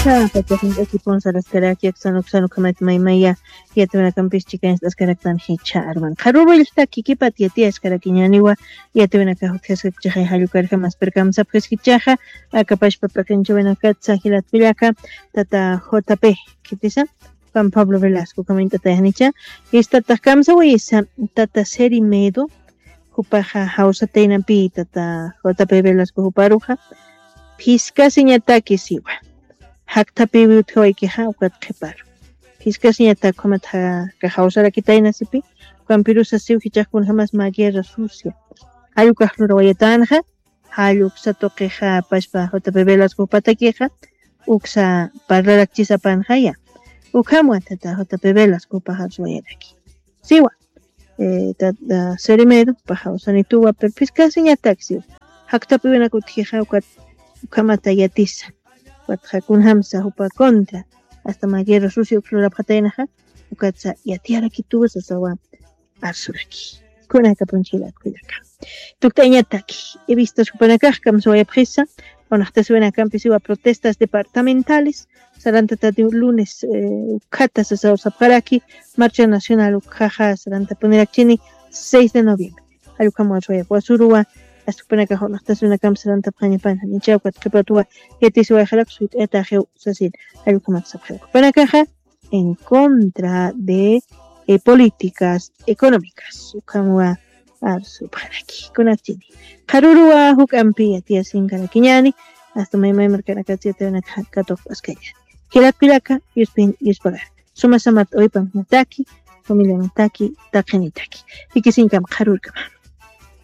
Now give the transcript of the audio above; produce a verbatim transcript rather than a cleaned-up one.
Pachaqinch'aki punsaraskaraki aksanuksanukhamat maymaya yatiwinakampis chikañst'askaraktan jicha arman qharuruylltaki kipat yatiyaskaraki ñaniwa yatiwinaka jutjaskakchaxa jallukarjamaspirkamsapjaskichaxa. Akapashpa p'iqinchawinakatsa jilatkullaka tata jp kitisa juan pablo velasco kamint'atayanicha. Istatax kamsawayisa tata seri medo jupaxa jawsataynampi tata jp velasco juparuxa. Phiskasiñataki siwa jakthapiwi utjawaykixa ukat qhiparu. Phiskasiñatak ukhamat jawsarakitaynasipi ukampirusa siw jichaxkunjamas mä guerra sucia. Jallukaq lurawayatänxa jalluksa tuqixa pashpa jp velasco jupatakixa uksa parlarakchisapanxaya. Ukhamwa tata jp velasco jupaxarswayaraki siwa. Serimero pajaw sanituwa pero phiskasiñatak siwa. Jaktapiwinak utjixa ukat ukhamata yatisa. Ukat jakunjamsa jupa contra hasta mä guerra sucia ukslurapxataynaxa ukatsa yatiyarakituwa sasawa. Arsuraki kunakapunchilakuyaka tukt'añataki. Evistas jupanakax kamsawayapxisa. Unaqtasiwinakampisiwa protestas departamentales sarantatati lunes ukhata sasaw sapxaraki. Marcha nacional ukhaxa sarantapunirakchini seis de noviembre. Jallukhamwaswayapwasuruwa. Astukpanakax unaqtasiwinakamp sarantapxañapana nichawkat qhipatuwa yatisiwayxarak suyt'ayataxiw sasin. Jallukhamat sapxarak jupanakaxa en contra de políticas económicas ukhamwa. Arsupxaraki kunatchini qharuruwa juk'ampi yatiyasinkarakkiñani. Asta maymaymarkanakatsiyatarinaka katuqp'askañani. Jilatkullaka yuspin yuspagara sumasamat uypamnataki familiamataki taqinitaki. Jikisinkam qharurkama.